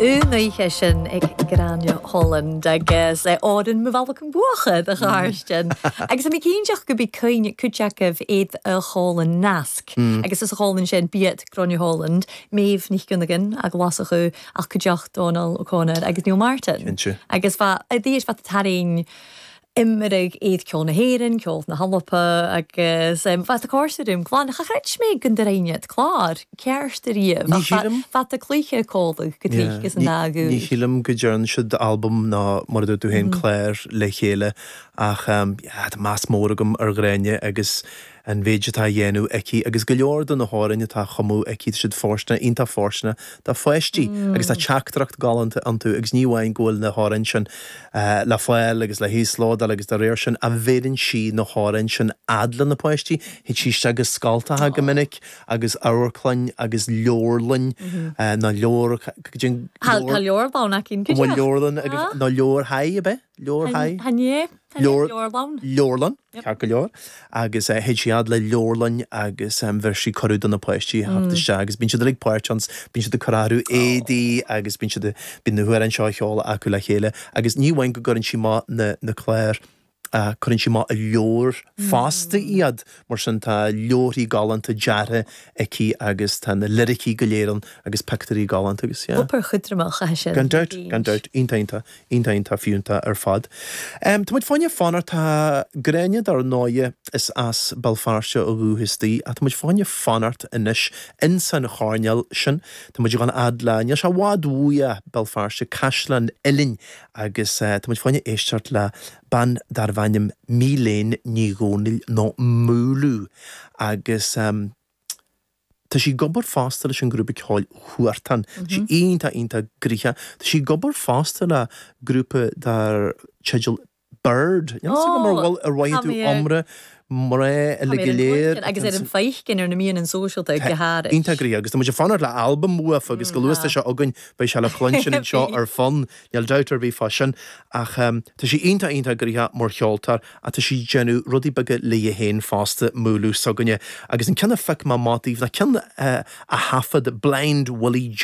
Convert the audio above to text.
An oíche sin ag Gráinne Holland agus Árann mo bhealach an buacha do Chairstin. Agus tá mé cinnteach go b'í cuimhne cuid agaibh iad a chomhlann nasc agus is a chomhlann sin b'iad Gráinne Holland, Méabh Nic Fhionnagáin a Ghlaschú ach cuideachta Dónal O'Connor agus Neil Martin. Cinnte. Agus fa dís fa tarraing imreoidh iad ceol na hÉireann, ceol na hAlba agus fa tá cóir sa rúm glan. Cha chreid mé go ndreignead clár ceart ariamh Ní ach fa shílim. fa tá cluiche cólaigh go Yeah. dtí agus an dá Ní ghuth. shílim go dtearn siad albam ná mar a dúirt tú féin clár le chéile ach yeah tá meas mór agam ar Ghráinne agus an mhéid atá á dhéanamh aici agus go leor de na hamhráin atá á chumadh aici, tá siad fóirsteanach, iontach fóirsteanach do pháistí agus tá teachtaireacht galánta iontu agus ní amháin go bhfuil na hamhráin sin le fáil agus le híoslódáil agus dá réir sin ach bheireann sí na hamhráin sin fhad le na páistí, théid sí isteach go scoltacha go minic agus amharclann agus leabharlann nó leabhar, go dtí an Tá leabharlann aici, An bhfuil leabharlann agaibh nó leabharthaigh ab ea? Leabharthaigh? Chan ea. Leabharlann. Leabharlann, ceart go leor. Agus théid sí fhad le leabharlann agus bheir sí cuireadh do na páistí a theacht isteach agus bíonn siad uilig páirteach ann, bíonn siad ag cur orthu éadaí agus bíonn siad, bíonn na hamhráin seo á cheol acu le chéile agus ní amháin go gcuireann sí amach na, na cláir, cuireann sí amach i leabhair fosta iad, mar sin tá leabharthaí galánta deartha aici agus tá na liricí go léir ann agus pictiúirí galánta agus yeah. Obair chudramach é sin. Gan dabht, gan dabht, iontach, iontach. Iontach, iontach fiúntach ar fad. Tá muid fá choinne fanacht, tá Gráinne dar ndóighe, is as Béal Feirste ó dhúchas di, ach tá muid fá choinne fanacht anois ins an choirnéal sin. Tá muid ag dul fhad le, níl sé i bhfad uaidh Béal Feirste, Caisleán Uidhilín, agus tá muid fá choinne éisteacht le bean darbh ainm Míléan Ní Dhomhnaill nó Múlú agus. Tá sí ag obair fosta leis an ghrúpa ceoil Huartan. Tá sí iontach, iontach gnoitheach. Tá sí ag obair fosta le grúpa dar teideal Bird. Níl a fhios agam ar bhfuil, ar mhothaigh tú iomrá mná uilig go léir. Agus ar an feicin ar na meáin sóisialta go háirid. Iontach gnoitheach agus tá muid ag fanacht le albam uafa agus go luath is atá sé againn beidh sé le cluinstin anseo ar Fonn. Níl dabht ar bith fá sin. Ach tá sí iontach, iontach gnoitheach mar cheoltóir ach tá sí ag déanamh rudaí beaga léi féin fosta, Múlú s'againne. Agus an ceann a phioc mé amach daoibh ná ceann a thaifead Blind Willie.